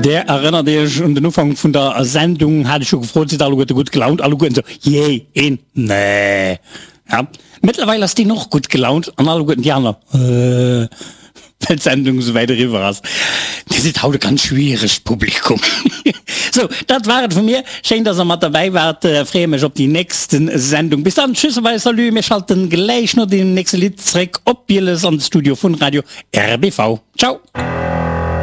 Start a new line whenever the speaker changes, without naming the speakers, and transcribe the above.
Där erënnert Iech un den Ufank vun der Sendung, hat ech jo gefrot, sidd alleguerte gutt gelaunt? Alleguerten sou, jee, een, nee. Ja, mëttlerweil ass deen och gutt gelaunt an alleguerten déi aner, äh, well d'Sendung esou wäit eriwwer ass. Dir sidd haut e ganz schwieregt Publikum. Sou, dat war et vu mir. Schéin, dass der mat derbäi waart. Freeë mech op déi nächste Sendung. Bis dann, tschüss a bye, salut. Mir schalten gläich no deem nächste Lidd zréck op Bieles an de Studio vun Radio RBV. Ciao!